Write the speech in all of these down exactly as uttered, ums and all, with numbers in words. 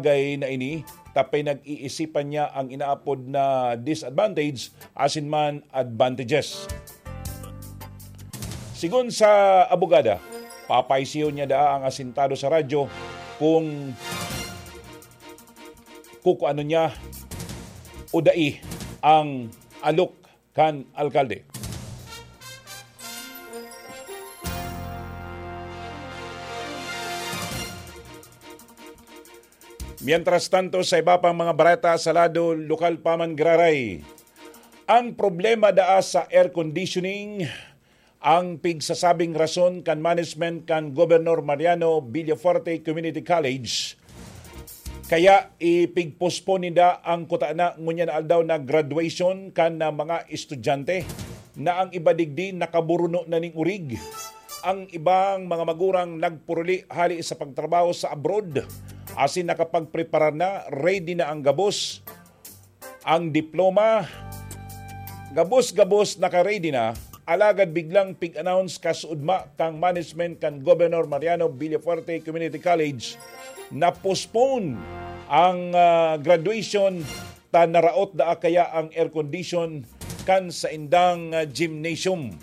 bagay na ini, ta pinag-iisipan niya ang inaapod na disadvantage asin man advantages. Sigon sa abogada, papaisiyon niya daa ang asintado sa radyo kung kukuanon niya o dai ang alok kan alkalde. Mientras tanto, sa iba pang mga bareta sa lado lokal pa man giraray, ang problema daa sa air conditioning, ang pigsasabing rason kan management kan Governor Mariano Villafuerte Community College, kaya ipigpospon ninda ang kutana ngunyan na aldaw na graduation kan, ah, mga estudyante, na ang iba digdi nakaburuno na ning urig. Ang ibang mga magurang nagpuruli hali sa pagtrabaho sa abroad, asin nakapagpreparar na, ready na ang gabos, ang diploma, gabos-gabos naka-ready na, alagad biglang pig-announce kasuodma kan management kan Governor Mariano Villafuerte Community College na postpone ang, ah, graduation ta naraot daa kaya ang air condition kan saindang, ah, gymnasium.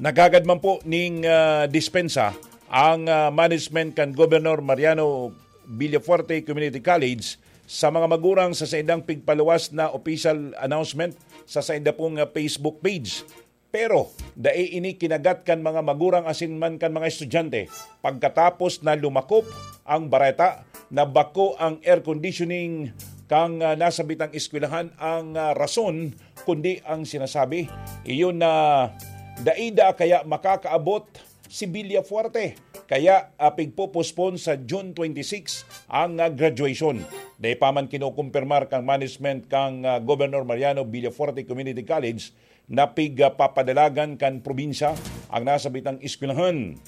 Nagagad man po ning, ah, dispensa ang, ah, management kan Governor Mariano Villafuerte Community College sa mga magurang sa saindang pigpaluwas na official announcement sa sainda pong, ah, Facebook page. Pero dai ini kinagat kan mga magurang asin man kan mga estudyante pagkatapos na lumakop ang bareta na bako ang air conditioning kan, ah, nasabitang eskwelahan ang, ah, rason, kundi ang sinasabi, iyon na dai daa kaya makakaabot si Villafuerte. Kaya, ah, pigpo-postpone sa June twenty-six ang, ah, graduation. Dai pa man kinokompirmar kan management kan, ah, Governor Mariano Villafuerte Community College na pigpapadalagan kan probinsya ang nasabitang eskwelahan.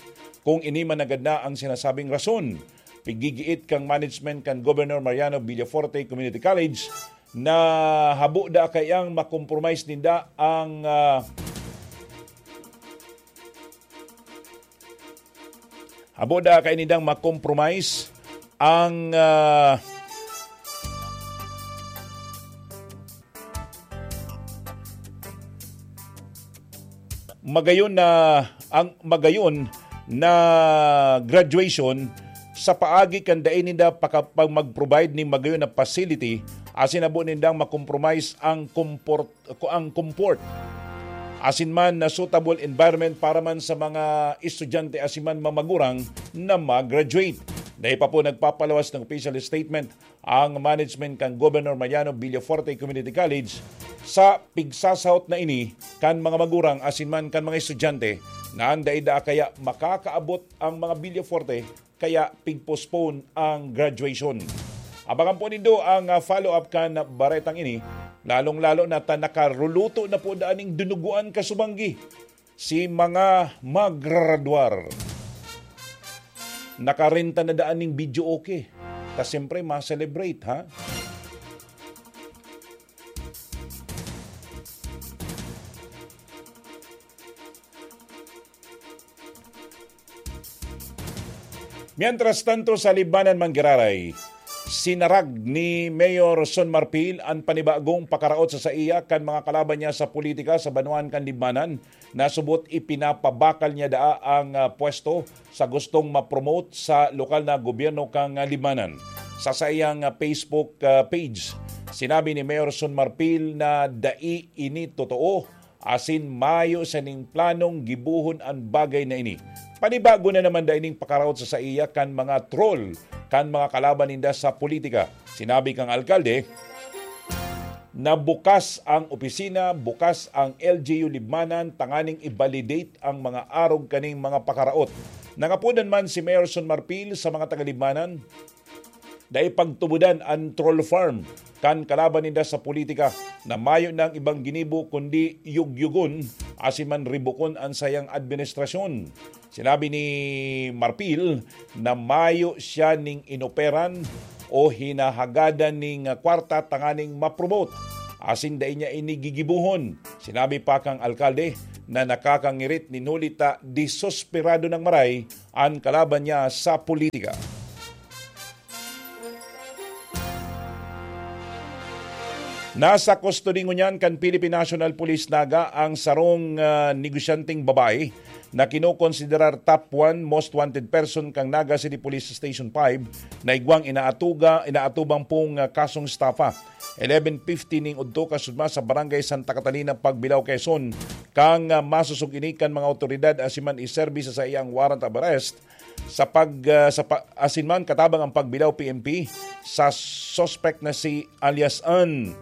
Kung ini man nanggad na ang sinasabing rason, piggigiit kan management kan Governor Mariano Villafuerte Community College na habo daa kaiyang makompromise ninda ang, ah, habo daa kaya nindang makompromise ang, ah, magayon na, ang magayon na graduation sa paagi kan dai ninda paka-, pag mag-provide nin magayon na facility, asin habo nindang makompromise ang comfort, ang comfort asin man na suitable environment para man sa mga estudyante asin man mga magurang na mag-graduate. Dai pa po nagpapalawas ng official statement ang management kan Governor Mariano Villafuerte Community College sa pigsasahot na ini kan mga magurang asin man kan mga estudyante na an dai daa kaya makakaabot ang mga Villafuerte, kaya pigpostpone ang graduation. Abangan po nindo ang, ah, follow-up kan baretang ini, lalong-lalo na ta nakaruluto na po daan ning dinugoan kasubanggi si mga magraradwar. Nakarenta na daan ning videoke. Ta siyempre, ma-celebrate, ha? Mientras tanto, sa Libmanan man giraray, sinarag ni Mayor Son Marfil an panibagong pakaraot sa saiya kan mga kalaban niya sa politika sa banwaan kan Libmanan. Nasubot ipinapabakal niya daa ang, ah, pwesto sa gustong ma-promote sa lokal na gobyerno kan, ah, Libmanan. Sa saiyang, ah, Facebook, ah, page, sinabi ni Mayor Son Marfil na dai ini totoo asin mayo siya nin planong gibohon an bagay na ini. Panibago na naman dai ning pakaraot sa saiya kan mga troll kan mga kalaban ninda sa politika. Sinabi kang alkalde na bukas ang opisina, bukas ang L G U Libmanan tanganing i-validate ang mga arog kaning mga pakaraot. Nangapodan man si Mayor Son Marfil sa mga taga-Libmanan na ipagtubodan an troll farm kan kalaban ninda sa politika na mayo nang ibang ginibo kundi yugyugon asin man ribukon an sayang administrasyon. Sinabi ni Marfil na mayo siya ning inoperan o hinahagadan ning kwarta tanganing ma-promote, asin dai niya ini gigibohon. Sinabi pa kang alkalde na nakakangirit nin huli ta disosperado nang maray an kalaban niya sa politika. Nasa kustodi ngunyan kan Philippine National Police Naga ang sarong, ah, negosyanteng babae na kinokonsiderar top one most wanted person kan Naga City Police Station five na igwang inaatuga, inaatubang pong, ah, kasong estafa. Eleven fifty ning udto kasudma sa Barangay Santa Catalina, Pagbilao, Quezon, kang, ah, masosog ini kan mga awtoridad asin man iserbi sa saiyang warrant of arrest sa pag, ah, sa pa-, asin man katabang ang Pagbilao P N P sa suspect na si alias Ann,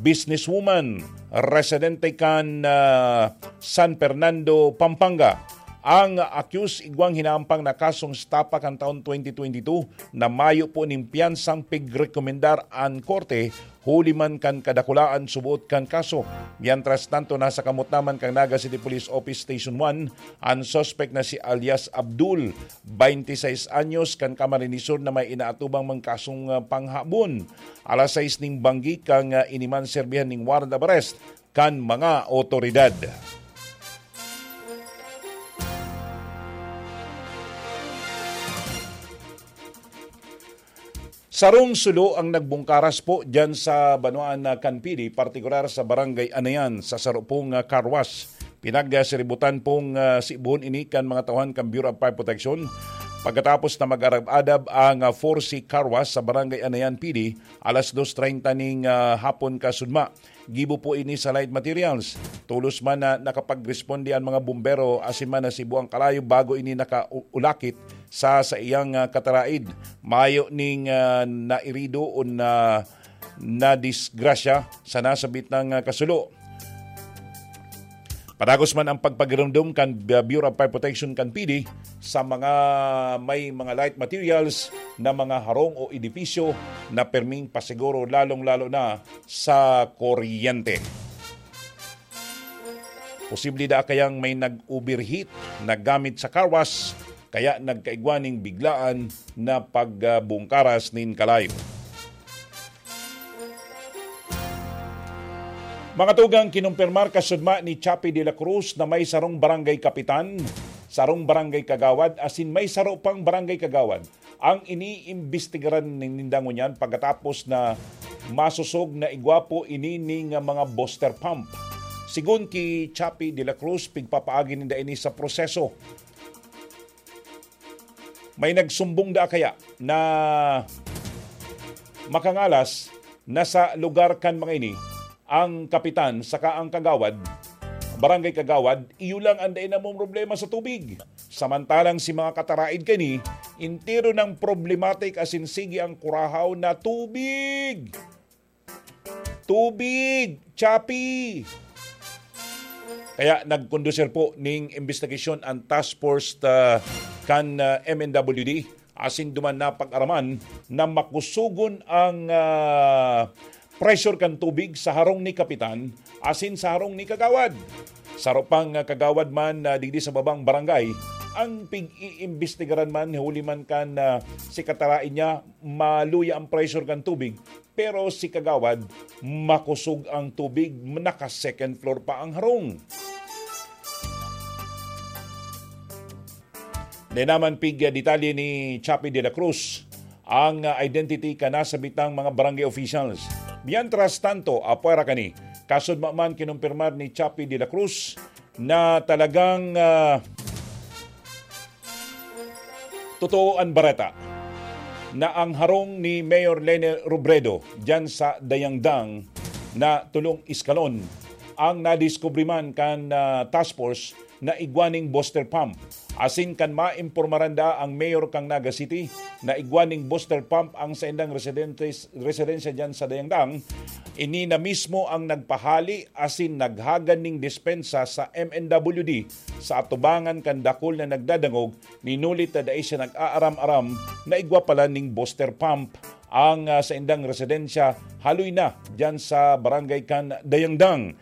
businesswoman, residente kan, ah, San Fernando, Pampanga. Ang accused igwang hinampang na kasong estafa kan taon twenty twenty-two na mayo po nin piyansang pigrekomendar an korte huli man kan kadakulaan suboot kan kaso. Mientras tanto, nasa kamot naman kan Naga City Police Office Station one an suspect na si alias Abdul, twenty-six anyos, kan Camarines Sur na may inaatubang man kasong, ah, panghabon. Alas sais ning banggi kang, ah, ini man serbihan ning warrant of arrest kan mga otoridad. Sarong sulo ang nagbungkaras po diyan sa banwaan na Kanpili, partikular sa Barangay Anayan, sa saro pong, ah, car wash. Pinagsiributan pong, ah, sibuhon ini kan mga tauhan kan Bureau of Fire Protection pagkatapos na mag-arab-adab ang, ah, four C Car Wash sa Barangay Anayan, Pili, alas dos treinta ning, ah, hapon kasudma. Gibo po ini sa light materials. Tolos man na nakapagresponde an mga bumbero asin man nasibo ang kalayo bago ini nakaulakit sa saiyang, ah, kataraid. Mayo ning, ah, nairido o na, nadisgrasya sa nasabit na, ah, kasulo. Padagos man ang pagpagirumdom kan Bureau of Fire Protection kan P D sa mga may mga light materials na mga harong o edipisyo na perming pasiguro, lalong-lalo na sa kuryente. Posible da kayang may nag-overheat na gamit sa car wash, kaya nagkaigwa ning biglaan na pagbungkaras nin kalayo. Mga tugang, kinumpirmar kasudma ni Chappie de la Cruz na may sarong barangay kapitan, sarong barangay kagawad, asin may saro pang barangay kagawad ang iniimbestigaran ninda ngunyan pagkatapos na masosog na igwa po ini ning mga booster pump. Sigon ki Chappie de la Cruz, pigpapaagi ninda ini sa proseso. May nagsumbong da kaya na makangalas na sa lugar kan mga ini ang kapitan saka ang kagawad, barangay kagawad, iyo lang ang dai namong problema sa tubig. Samantalang si mga kataraid kani, entero nang problematic asin sige ang kurahaw na tubig. Tubig! Chappie! Kaya nagkondusir po ning imbestigasyon ang task force, ah, kan, ah, M N W D, asin duman napag-araman na makusogon ang, ah, pressure kan tubig sa harong ni kapitan asin sa harong ni kagawad. Saro pang, ah, kagawad man, ah, digdi sa babang barangay ang pig-iimbestigaran man, huli man kan, ah, si kataraid niya maluya ang pressure kan tubig. Pero si kagawad, makosog ang tubig, naka-second floor pa ang harong. Dai naman pig detalye ni Chappie de la Cruz ang, ah, identity kan nasabitang mga barangay officials. Mientras tanto, apwera kani, kasudma man kinumpirmar ni Chappie de la Cruz na talagang, ah, totoo an bareta na ang harong ni Mayor Leni Robredo diyan sa Dayangdang na tulong eskalon ang nadiskubre man kan, ah, task force na igwa ning booster pump. Asin kan maimpormaran da ang mayor kan Naga City na igwa ning booster pump ang saindang residentes, residensya diyan sa Dayangdang, ini na mismo ang nagpahali asin naghagan ning dispensa sa M N W D sa atubangan kan dakul na nagdadangog, minulit na dai siya nag-aaram-aram na igwa pala ning booster pump ang, ah, saindang residensya, haloy na diyan sa barangay kan Dayangdang.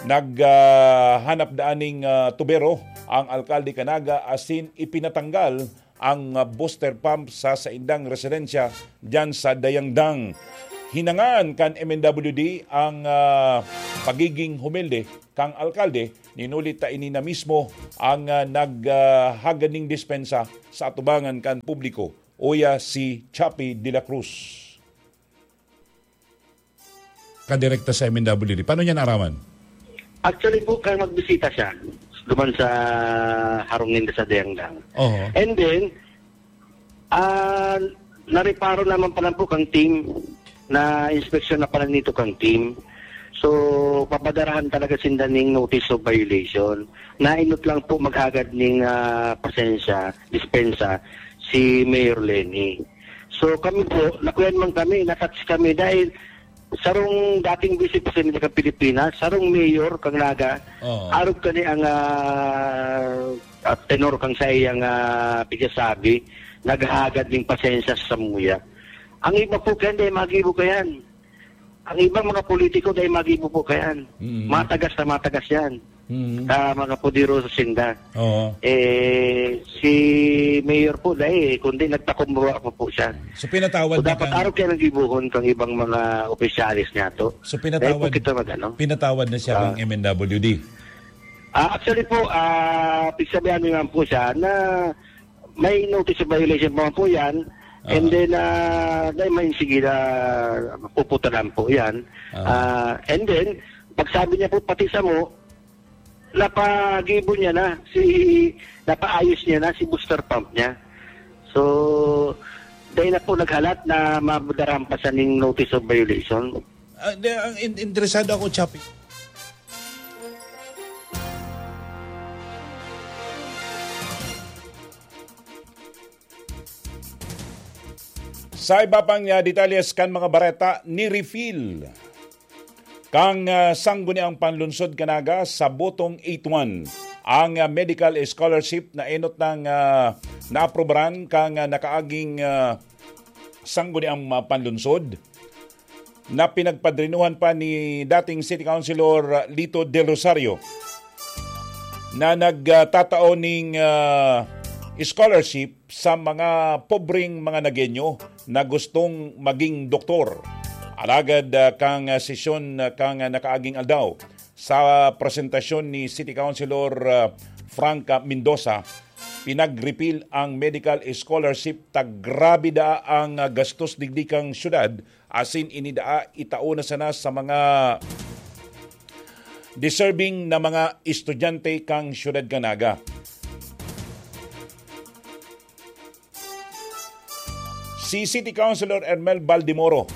Nag, ah, hanap daan ning, ah, tubero ang alkalde kan Naga asin ipinatanggal ang, ah, booster pump sa saindang residensya diyan sa Dayangdang. hinangaan kan M N W D ang, ah, pagiging humilde kan alkalde, ninulit ta ini na mismo ang, ah, nag, ah, hagad ning dispensa sa atubangan kan publiko, uya si Chappie de la Cruz. Kadirekta sa M N W D. Paano niya naaraman? Actually po, kaya magbisita siya duman sa harong ninda sa Dayangdang. Oho. And then, ah, nareparo naman pala po kang team, na inspeksyon na pala nito kang team. So, papadarahan talaga sinda ning notice of violation. Nainot lang po maghagad ning, ah, pasensya, dispensa, si Mayor Lenny. So, kami po, nakuyan man kami, natouch kami dahil sarong dating Vice Presidente kan Pilipinas, sarong mayor kan Naga, Oo. arog kani ang, ah, ah, tenor kan saiyang, ah, pigsasabi, naghahagad ning pasensya sa samuya. Ang iba po kaya, dai magibo kayan. Ang ibang mga politiko, dai magibo po kayan. Mm. Matagas na matagas yan. Mm. Sa mga poderoso sinda. Oo. Eh, si Mayor po, dai, kundi nagpakumbaba pa po siya. So, pinatawad So, na dapat kang arog kaya nang gibohon kang ibang mga opisyalis niya to. So, Dahil po pinatawad, kita mag-ano. pinatawad na siya Ah. kang M N W D. Ah, actually po, ah, pigsabihan mo naman po siya na may notice of violation pa man po yan. And Ah. then, ah, dahil may sige na puputalan po yan. Ah. Ah, and then, pagsabi niya po pati sa mo, napagibo niya na si, napaayos niya na si booster pump niya. So, dahil na po naghalat na madarahan pa siya ning notice of violation. Ah, di, ang in-, interesado ako, Chappie. Sa iba pang, ah, detalyes kan mga bareta, ni-refill kang, ah, Sangguniang Panlunsod kan Naga sa botong eight one ang, ah, medical scholarship na enot nang, ah, naaprobaran kang, ah, nakaaging, ah, Sangguniang, ah, Panlunsod na pinagpadrinuhan pa ni dating City Councilor Lito Del Rosario na nagtatao ning, ah, scholarship sa mga pobreng mga Nagueño na gustong maging doktor. Alagad, ah, kang, ah, sesyon, ah, kang, ah, nakaaging aldaw, sa presentasyon ni City Councilor, ah, Frank Mendoza, pinag-repeal ang medical scholarship ta grabe daa ang, ah, gastos digdi kang syudad, asin ini daa itao na sana sa mga deserving na mga estudyante kang syudad kan Naga. Si City Councilor Ermel Baldemoro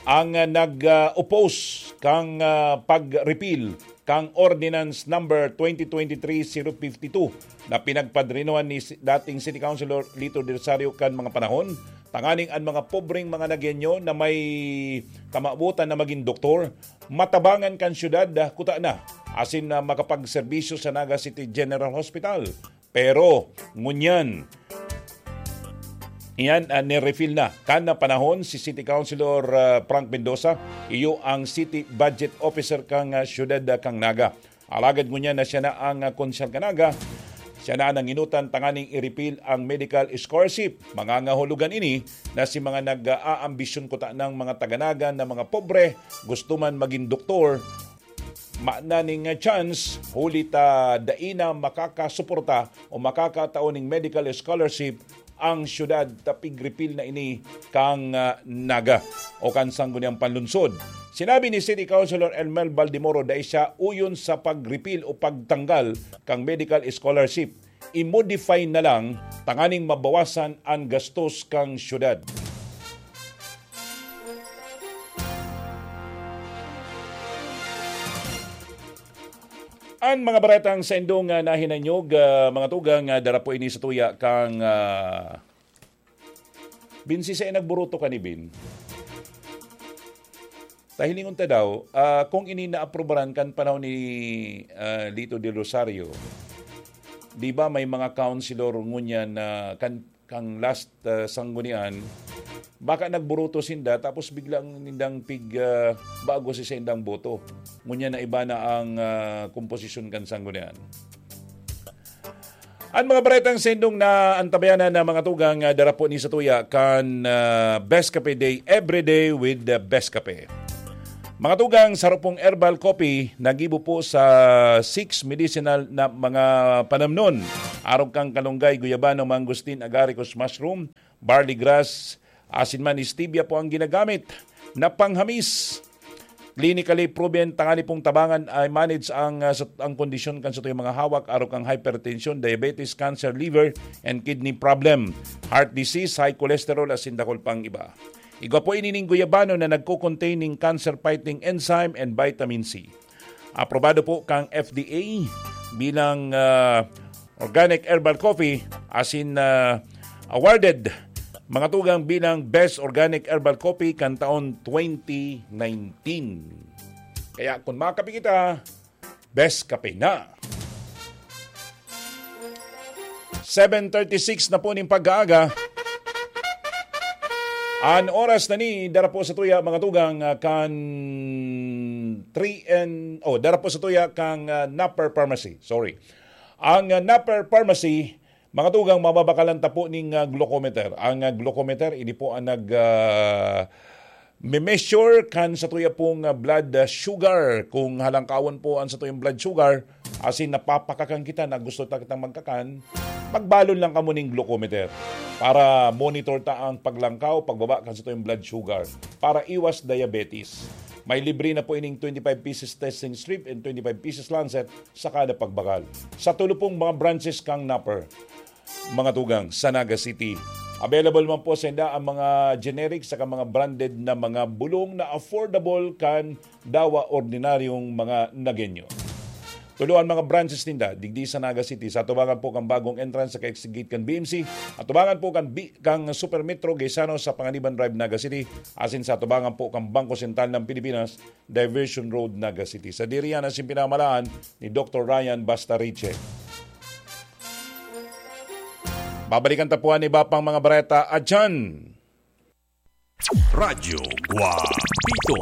ang, ah, nag, ah, oppose kang, ah, pag-repeal kang Ordinance Number twenty twenty-three zero fifty-two na pinagpadrinuhan ni si-, dating City Councilor Lito Del Rosario kan mga panahon, tanganing an mga pobreng mga Nagueño na may kamawotan na magin doktor, matabangan kan syudad, ah, kutana, asin na makapagserbisyo sa Naga City General Hospital. Pero, ngunyan, iyan, ah, ni-refill na kan na panahon si City Councilor, ah, Frank Mendoza, iyo ang City Budget Officer kang, ah, syudad, ah, kang Naga. Alagad ngunyan na siya na ang, ah, konsyal kan Naga, siya na ang nanginutan tanganing i-repeal ang medical scholarship. Mangangahulugan ini na si mga nag-aambisyon kuta ng mga taga-Naga na mga pobre, gusto man maging doktor, mayo na ning, ah, chance, huli ta dai na makakasuporta o makakatao ning medical scholarship ang syudad ta pig-repeal na ini kang, ah, Naga o kan Sangguniang Panlunsod. Sinabi ni City Councilor Elmel Baldemoro, dai siya uyon sa pag-repeal o pagtanggal kang medical scholarship. I-modify na lang tanganing mabawasan ang gastos kang syudad. An mga baretang saindong, ah, nahinanyog, ah, mga tugang, ah, dara po ini sa tuya kang, ah, Bin, si Sir nagburuto ka ni Bin. Tahilingon ta daw, ah, kung ini naaprubaran kan panahon ni, ah, Lito Del Rosario, di ba may mga councilor ngunyan na kan, kang last, ah, sanggunian, baka nagburuto sinda tapos biglang nindang pig, ah, bago si sindang boto. Ngunyan na iba na ang, ah, komposisyon kan sanggunian. An mga baretang sendong na antabayanan na mga tugang, ah, dara po ni sa tuya kan, ah, Best Cafe Day, every day with the Best Cafe. Mga tugang, sa Rupong Herbal Coffee, nagibo po sa six medicinal na mga panamnon. Arog kang kalunggay, guyabano, mangosteen, agaricus, mushroom, barley grass, asin man, stevia po ang ginagamit na panghamis. Clinically proven, tangani pong tabangan ay manage ang, ah, sa, ang kondisyon kan satuyang mga hawak, arog kang hypertension, diabetes, cancer, liver, and kidney problem, heart disease, high cholesterol, asin dakul pang iba. Igwa po ini ning guyabano na nagko-contain ning cancer-fighting enzyme and vitamin C. Aprobado po kang F D A bilang, ah, organic herbal coffee, asin, ah, awarded mga tugang bilang Best Organic Herbal Coffee kan taon twenty nineteen. Kaya kung makape kita, Best Kape na. Seven thirty-six na po ning pag-aaga. An oras na ni dara po sa tuya, mga tugang, ah, kan three and, oh, dara po sa tuya kang, ah, Napper Pharmacy. Sorry. Ang, ah, Napper Pharmacy, mga tugang, mababakalan ta po ning, ah, glucometer. Ang, ah, glucometer, ini po ang nag, ah, me-measure kan sa tuya pong, ah, blood, ah, sugar. Kung halangkawan po ang sa tuyang blood sugar, asin napapakakan kita na gusto ta kitang magkakan, magbalon lang kamo ning glucometer para monitor ta ang paglangkaw, pagbaba kan sa tuyang blood sugar para iwas diabetes. May libre na po ining twenty-five pieces testing strip and twenty-five pieces lancet sa kada pagbakal. Sa tulo pong mga branches kang Napper, mga tugang, sa Naga City. Available man po sa inda ang mga generic saka mga branded na mga bulong na affordable kan dawa ordinaryong mga Nagenyo. Tulo an mga branches ninda digdi sa Naga City. Sa atubangan po kan bagong entrance sa ka-exit gate kan B M C, atubangan po kan bi-, kang Super Metro Gaisano sa Panganiban Drive, Naga City, asin sa atubangan po kan Bangko Sentral ng Pilipinas, Diversion Road, Naga City. Sadiri yan an pinamalaan ni Doktor Ryan Bastariche. Babalikan ta po an iba pang mga bareta adyan. Radyo Guapito.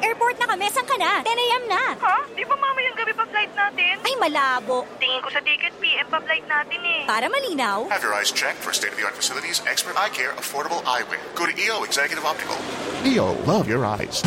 Airport na kami, saan ka na? ten a.m. na. Ha? Di ba mamayang gabi pa flight natin? Ay, malabo. Tingin ko sa ticket, P M pa flight natin eh. Para malinaw. Have your eyes checked for state-of-the-art facilities, expert eye care, affordable eyewear. Go to E O Executive Optical. E O, love your eyes.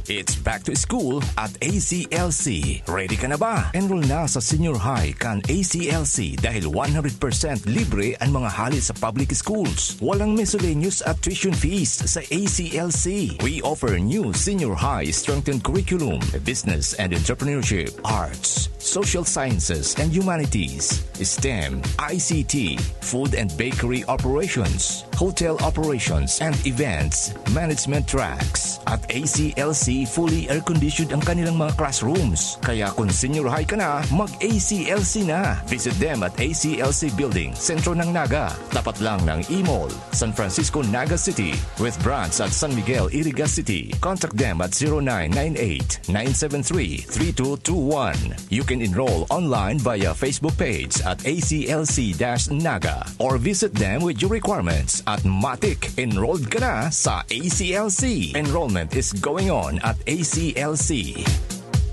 It's back to school at A C L C. Ready ka na ba? Enroll na sa senior high kan A C L C dahil one hundred percent libre ang mga hali sa public schools. Walang miscellaneous at tuition fees sa A C L C. We offer new senior high strengthened curriculum, business and entrepreneurship, arts, social sciences and humanities, STEM, I C T, food and bakery operations, hotel operations and events management tracks. At A C L C, fully air-conditioned ang kanilang mga classrooms. Kaya kung senior high ka na, mag-A C L C na. Visit them at A C L C Building, sentro ng Naga. Tapat lang ng E-Mall, San Francisco, Naga City, with branch at San Miguel, Iriga City. Contact them at zero nine nine eight, nine seven three, three two two one. You can enroll online via Facebook page at A C L C dash Naga or visit them with your requirements at Matik. Enrolled ka na sa A C L C. Enrollment is going on at A C L C.